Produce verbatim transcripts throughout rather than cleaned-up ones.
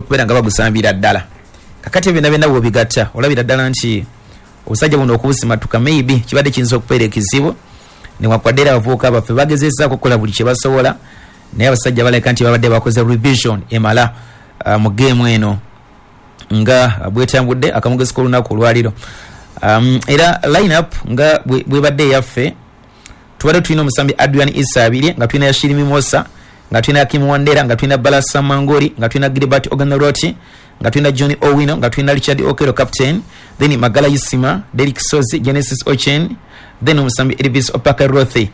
Okubeera nga bagusambira ddala. Kakati byonna byonna bwobigatta, olabira ddala nti obusajja buno okubusimatuka maybe kibadde kiyinza okubeera ekizibu, newankubadde era abavubuka baffe bagezezaako okukola buli kye basobola, naye abasajja balabika nti babadde bakoze revision emala uh, mu geemu eno nga bwetambudde akamugezi k'olunaku olwaliro. um, era line up nga bwebadde eyaffe, tubadde tulina omusambi Adrian Isabirye, nga tulina Yashiri Mimosa, nga tulina Hakim Wandera, nga tulina Balasa Mangori, nga tulina Gilbert Oganoroti, nga tulina John Owino, nga tulina Richard Okero captain, then Magala Isima, Derek Sozi, Genesis Ochen, then omusambi Elvis Opaka Rothi.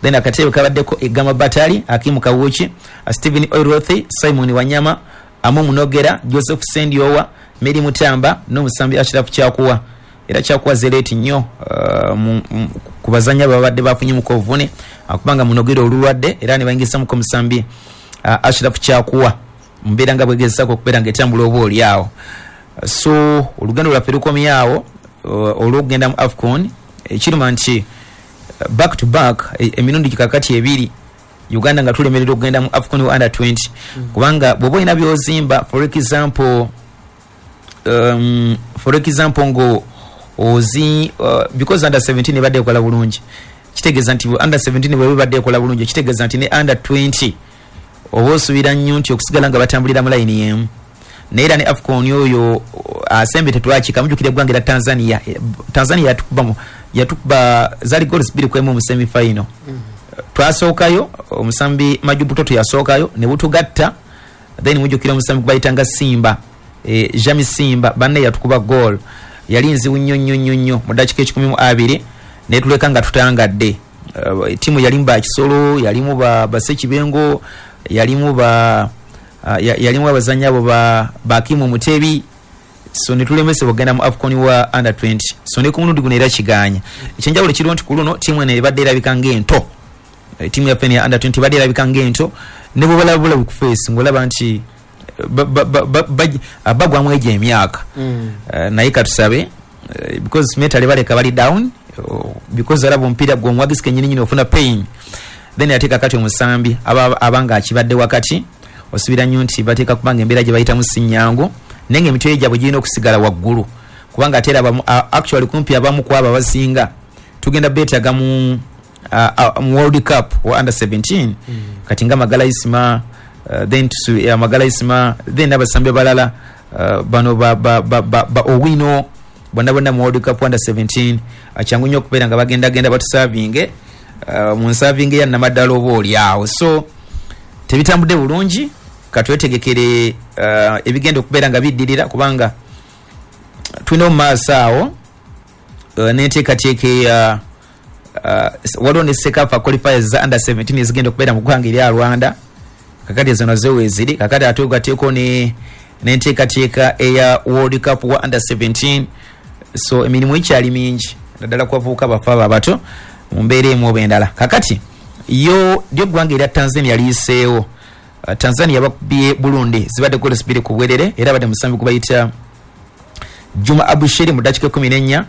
Then akatebe kabaddeko Egama Batali, Hakimu Kawuki, Stephen Oirothi, Simon Wanyama, Amu Munogera, Joseph Sendiowa, Mary Mutamba n'omusambi Ashraf Kyakuwa. Era Kyakuwa zereeti nnyo uh, ku bazannya babadde bafunye mu kovune, kubanga Munogera olulwadde era ne bayingisamuko omusambi uh, Ashraf Kyakuwa mbeera nga bwegezaako okubeera ng'etambula oba oli awo. So olugendo lwaffe lukomyawo uh, olw'okugenda mu AFCON. Ekiruma nti back to back emirundi kakati ebiri Uganda nga tulemerera okugenda mu AFCON under twenty, mm. kubanga bw'oba olina by'ozimba, for example um, for example ngo ozi uh, because under seventeen ebadde ekola bulungi, kitegeeza nti under seventeen bwe bibadde ekola bulungi, kitegeeza nti ne under twenty oba osuubira nnyo nti okusigala nga batambulira mu layini y'emu. Naye era ne AFCON oyo asembe tetwakika. Mujjukira eggwanga erya Tanzania, Tanzania yatukuba yatukuba zaali goals bbiri ku emu mu semi final. mm. Twasookayo, omusambi Majubutoto yasookayo ne butugatta, then mujjukira omusambi gubayitanga Simba, e, Jami Simba banne yatukuba goal yali nzibu nnyo nnyo nnyo nnyo mu ddakiika ekikumi mu abiri ne tuleka nga tutangadde. uh, tiimu yalimu ba Kisolo, yalimu ba Basekibengo, yalimu ba uh, yalimu abazannyi abo ba Bakimu Mutebi. So ne tulemesebwa okugenda mu AFCON wa under twenty. So ne ku mulundi guno era kiganya. Ekyenjawulo kiriwo nti ku luno ttiimu eno ebadde erabika ng'ento, ttiimu yaffe eno ya under twenty ebadde erabika ng'ento, ne bw'obalaba bulabi ku face ng'olaba nti bagwamu egyo emyaka. mm. uh, naye katusabe, uh, because mentally baleka bali down, uh, because alaba omupiira gwe omuwagizi kennyini nyini ofuna pain. Then ate kakati omusambi abanga akibadde wakati, osuubira nnyo nti bateeka kubanga embeera gye bayitamu si nnyangu, naye ng'emitwe gyabwe girina okusigala waggulu, kubanga ate era actually kumpi abamu ku abo abasinga tugenda beetaaga mu mu World Cup wa under seventeen. mm. Kati nga Magala Isima, uh, then uh, Magala Isima, then abasambi abalala uh, bano ba, ba, ba, ba, ba Owino bonna bonna mu World Cup under seventeen, kyangu nnyo okubeera nga bagendagenda batusavinge uh, mu nsavinge ya namaddala oba oli awo. So tebitambudde bulungi, katwetegekere uh, ebigenda okubeera nga biddirira, kubanga tulina mu maaso awo uh, n'enteekateeka eya uh, waliwo ne CECAFA qualifiers za under seventeen ezigenda okubeera mu ggwanga erya Rwanda. Kakati ezo nazo weeziri. Kakati ate ogateeko n'enteekateeka eya World Cup wa under seventeen. So emirimu ekyali mingi naddala ku bavubuka baffe abo abato mu mbeera emu oba endala. Kakati yo lyo eggwanga erya Tanzania liyiseewo. Tanzania bakubye Burundi zibadde goals bbiri ku bwerere, era badde musambi gubayita Juma Abushiri mu ddakiika ekkumi n'ennya,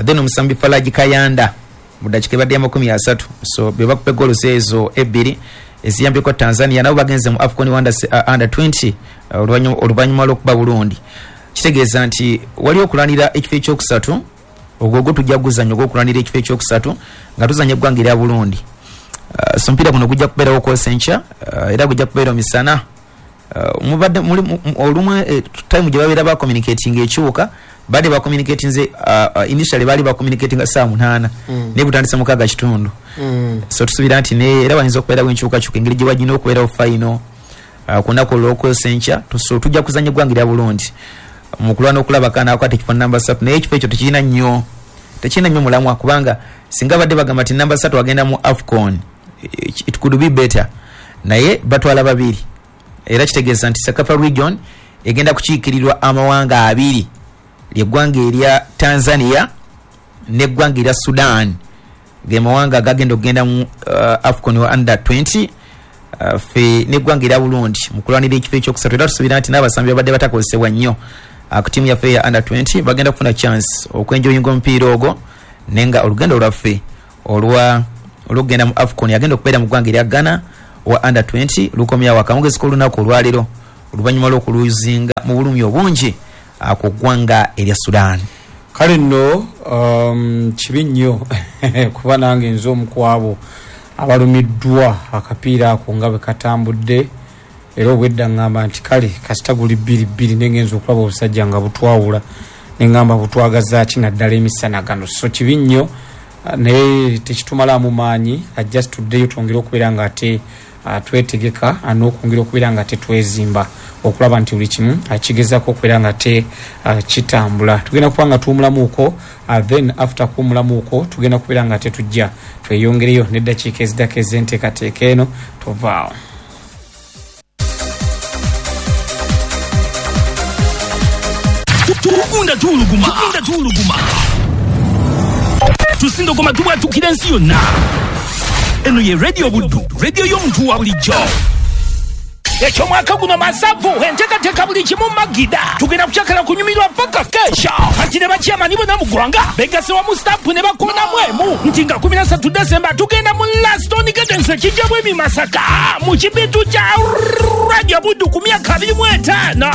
then omusambi Falaji Kayanda mu ddakiika ebadde ya makumi asatu. So be bakubye goals ezo ebbiri eziyambyeko Tanzania, nabo bagenze mu AFCON under, uh, under twenty oluvannyuma lw'okuba Burundi. Kitegeeza nti wali okulwanira ekifo ekyokusatu, ogwo gwo tujja kuguzannya ogw'okulwanira ekifo ekyokusatu nga tuzannya eggwanga erya Burundi. Uh, so omupiira guno gujja kubeerawo kwosa enkya, uh, era gujja kubeera misana. uh, mubadde muli olumu eh, time gye babeera bacommunicating ekyuka, badde bacommunicatinze uh, uh, initially baali bacommunicatinga ssaawa munaana, mm. naye butandise mukaaga kitundu. mm. So tusuubira nti ne era bayinza okubeerawo enkyukakyuka engeri gye bagina okubeerawo final uh, ku lunaku olw'okwosa enkya. So tujja kuzannya eggwanga erya Burundi mu kulwana okulaba kanaakwata ekifo namba ssatu, naye ekifo ekyo tekirina nnyo tekirina nnyo mulamwa, kubanga singa badde bagamba nti namba ssatu agenda mu AFCON it could be better, naye batwala babiri. Era kitegeeza nti CECAFA region egenda kukiikirirwa amawanga abiri, lyeggwanga erya Tanzania n'eggwanga erya Sudan, ge mawanga agagenda okugenda mu uh, AFCON wa under twenty. uh, fe n'eggwanga erya Burundi mu kulwanira ekifo ekyokusatu. Era tusuubira nti n'abasambi babadde batakozesebwa nnyo uh, ku ttiimu yaffe ya under twenty bagenda kufuna chance okwenjoyinga omupiira ogwo, naye nga olugendo lwaffe olwa olw'okugenda mu AFCON agenda okubeera mu ggwanga erya Ghana wa under twenty lukomyawo akamugezi k'olunaku olwaleero. Oluvannyuma lw'okuluzinga mu bulumi obungi ku ggwanga erya Sudan. Kale nno um, kibi nnyo kuba nange nze omu ku abo abalumiddwa akapiira ako nga bwe katambudde, era obwedda ŋŋamba nti kale kasita guli bbiri bbiri, nengenza okulaba obusajja nga butwawula, neŋŋamba butwagaza ki naddala emisana gano. So kibi nnyo, naye tekitumalamu maanyi, ajja tuddeyo twongere okubeera nga ate twetegeka n'okwongera okubeera nga tetwezimba okulaba nti buli kimu akigezaako okubeera nga te kitambula. Tugenda kuba nga tuwumulamuuko, then after kuwumulamuuko tugenda kubeera nga tetujja tweyongereyo n'eddakiika eziddako ez'enteekateeka eno. Tovaawo. Tugunda tuwuluguma, tugunda tuwuluguma, tusindogoma tubwatukira ensi yonna. Eno ye Radio Buddu, radio y'omuntu wa bulijjo. Ekyomwaka guno masavu enteekateeka buli kimu magida, tugenda kukyakala kunyumirwa paka kesha. Kati ne bakyamani bonna mu ggwanga begase wamu stampu ne bakonamu emu nti nga kumi na ssatu Desemba tugenda mu Laston Gardens ekijja bwemi Masaka mu kibitu kya Radio Buddu ku myaka abiri mu etaano.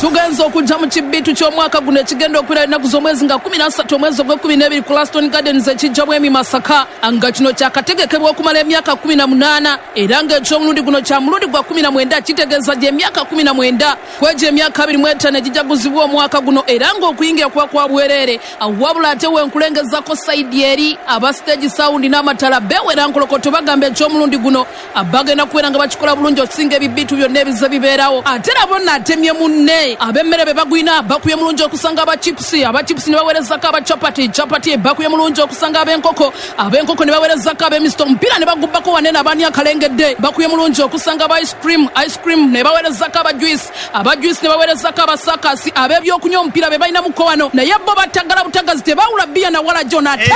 Tugenza okujja mu kibitu ky'omwaka guno ekigenda okubeera ennaku z'omwezi nga kumi na ssatu omwezi ogw'ekkumi n'ebiri ku Laston Gardens ekijja bwemi Masaka, nga kino kyakategekebwa okumala emyaka kumi na munaana, era ng'ekyomulundi guno kya mulundi gwa kumi na mwenda, kitegeeza gy'emyaka kumi na mwenda kwegyo emyaka abiri mu etaano egijaguzibwa omwaka guno, era ng'okuyingira kuba kwa bwereere. Wabula ate wenkulengezako sayidi eri aba stage sound n'amatala bewera nkolokoto bagamba ekyomulundi guno bagenda kubeera nga bakikola bulungi okusinga ebibitu byonna ebize bibeerawo. Ate nabo naatemye munne ab'emmere be bagwina bakubye mulungi okusanga aba chipusi, aba chipusi ne baweerezako aba chapati, chapati bakubye mulungi okusanga ab'enkoko, ab'enkoko ne baweerezako ab'emisito, omupiira ne bagubbako wanene abaani akalengedde bakubye mulungi okusanga aba ice cream, ice cream ne baweerezako aba juice, aba juice ne baweerezako abasakasi, ab'ebyokunywa omupiira be balina muko wano, naye bo batagala butagazi tebawula bbiya na wala jona. Ate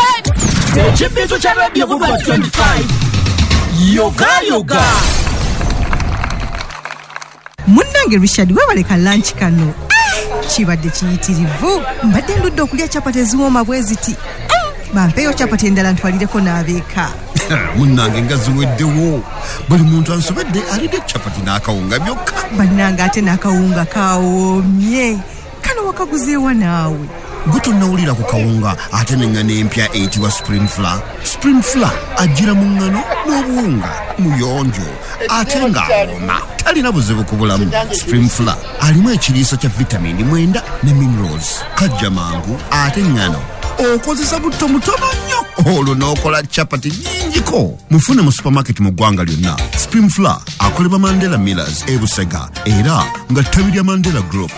ekibitu kya Radio Buddu twenty-five yoga yoga. Munnange Richard, weebaleka lunch kano kibadde kiyitirivu. Mbadde ndudde okulya chapati eziwooma bwe ziti. Bampeeyo chapati endala ntwalireko n'abeeka. Munnange nga ziweddewo, buli muntu ansobedde alidde chapati n'akawunga byokka. Bannange ate n'akawunga kawoomye. Kano wakaguzeewa naawe? Gwe tonnawulira ku kawunga ate n'eŋŋano empya eyitibwa Spring Flour. Spring Flour ajjira mu ŋŋano n'obuwunga, muyonjo ate ng'awooma, talina buzibu ku bulamu. Spring Flour alimu ekiriisa kya vitamini mwenda ne minerals, kajja mangu ate ŋŋano okozesa butto mutono nnyo olwo n'okola chapati nnyingiko. Mufune mu supermarket mu ggwanga lyonna. Spring Flour akolebwa Mandela Millers e Busega era nga ttabi lya Mandela Group.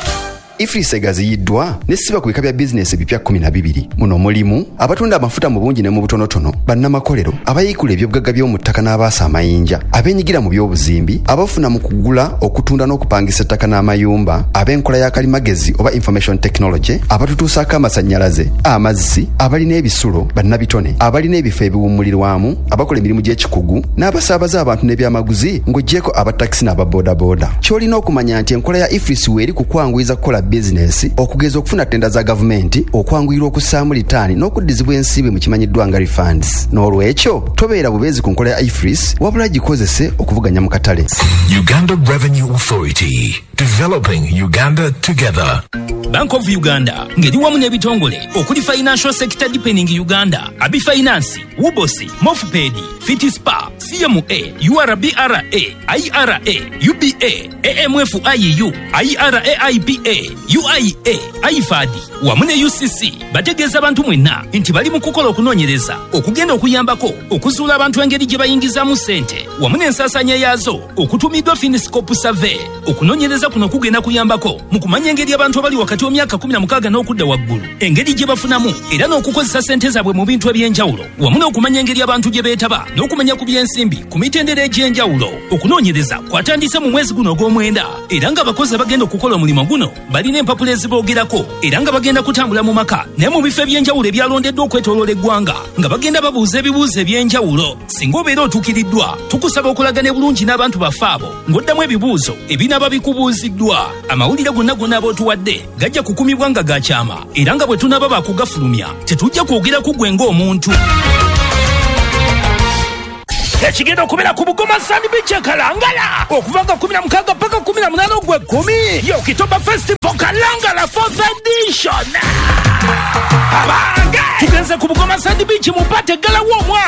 EFRIS egaziyiddwa nesiba ku bika bya bizinesi ebipya kkumi na bibiri. Muno mulimu abatunda amafuta mu bungi ne mu butonotono, bannamakolero, abayiikula ebyobugagga by'omu ttaka n'abaasa amayinja, abeenyigira mu by'obuzimbi, abafuna mu kugula, okutunda n'okupangisa ettaka n'amayumba, ab'enkola ya kalimagezi oba information technology, abatutuusaako amasannyalaze, amazzi, abalina ebisulo, bannabitone, abalina ebifo ebiwummulirwamu, abakola emirimu gy'ekikugu, n'abasaabaza abantu n'ebyamaguzi ng'oggyeko abatakisi n'ababoodabooda. Ky'olina okumanya nti enkola ya EFRIS weeri ku kwanguyiza kukola bizinesi, okugeza okufuna tenda za gavumenti, okwanguyirwa okussaamu litaani n'okuddizibwa ensimbi mu kimanyiddwa nga refunds. N'olwekyo tobeera bubeezi ku nkola ya EFRIS, wabula gikozese okuvuganya mu katale. Uganda Revenue Authority, developing Uganda together. Bank of Uganda ngeri wamu n'ebitongole okuli Financial Sector Deepening Uganda, Abi Finance, Wubosi, Mofpedi, Fitispa, C M A, U R B R A, I R A, U B A, A M F I U, I R A I P A, U I A, I F A D wamu ne U C C bategeeza abantu mwenna nti bali mu kukola okunoonyereza okugenda okuyambako okuzuula abantu engeri gye bayingizaamu ssente wamu n'ensaasaanya yaazo okutumiddwa Finiscope Survey. Okunoonyereza kuno kugenda kuyambako mu kumanya engeri abantu abali wakati w'emyaka kumi na mukaaga n'okudda waggulu engeri gye bafunamu era n'okukozesa ssente zaabwe mu bintu eby'enjawulo wamu n'okumanya engeri abantu gye beetaba n'okumanya ku by'ensimbi ku mitendera egy'enjawulo. Okunoonyereza kwatandise mu mwezi guno ogw'omwenda era ng'abakozi abagenda okukola omulimu guno balina empapula eziboogerako era nga bagenda kutambula mu maka naye mu bifo eby'enjawulo ebyalondeddwa okwetooloola eggwanga nga bagenda babuuza ebibuuzo eby'enjawulo. Singa obeera otuukiriddwa, tukusaba okulagana bulungi n'abantu baffe abo ng'oddamu ebibuuzo ebinaaba bikubuuziddwa. Amawulire gonna gonna ab'otuwadde gajja kukumibwa nga ga kyama era nga bwe tunaaba baakugafulumya tetujja kwogera ku ggwe ng'omuntu. Ekigenda okubeera ku Bugoma Sand Beach e Kalangala okuva nga kumi na mukaaga paka kumi na munaana ogw'ekkumi, ye Okitoba Festival Kalangala fourth edition. Abange, tugenze ku Bugoma Sand Beach mu party eggalawo omwaka.